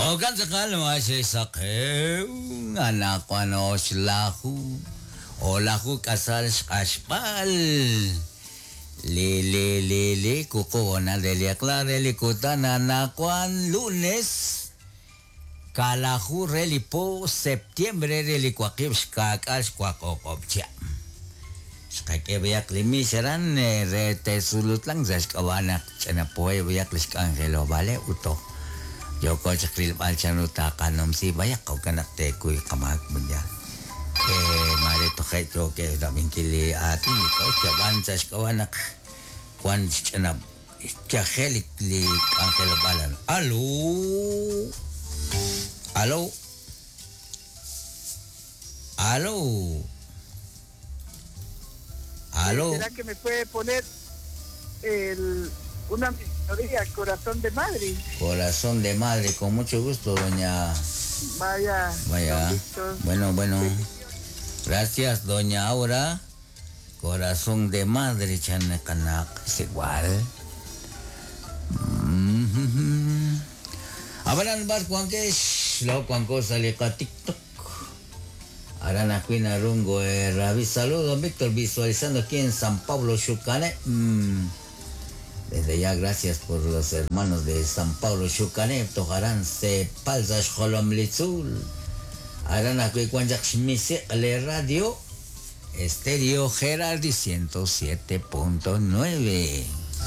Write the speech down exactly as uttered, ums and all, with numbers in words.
Okan tz'aqal maxexsaqew anaqwan oxlaju olaju k'asal xq'axb'al li li li li wuqub' honal re li eq'la re li kutan anaqwan lunes kalaju re li po septiembre re li waqib' xka'k'aal xwaq o'q'ob' chihab'. Xqak'e b'ayaq li mix aran re tesulutlan sa' xk'ab'a' naq ch'ina poheb' b'ayaq li xk'anjelob'aaleb' ut toj yooko chaq rilb'al chanru taqanumsi b'ayaq jo'kan naq teekuy qamaak mundial. Eh, mare toje' yookeb' rab'inkil li aatin li k'och ab'an sa' xk'ab'a' naq wan xch'ina xyajel li, li k'anjelob'aal. Alo. Alo. Alo. Aló. ¿Será que me puede poner el, una melodía, Corazón de Madre? Corazón de Madre, con mucho gusto, doña. Vaya. Vaya. Bueno, bueno. Gracias, doña Aura. Corazón de Madre, chanekanak, es igual. Mm-hmm. Abaran bar kuankesh, lo kuankosa liqa TikTok. Arana Cuina Rungo eh, Rabi. Saludos, Víctor, visualizando aquí en San Pablo, Xucané. Mm. Desde ya, gracias por los hermanos de San Pablo, Xucané. Tojarán se palza Xolomlitzul. Arana Cuicuanchak le radio. Estéreo Gerardi ciento siete punto nueve.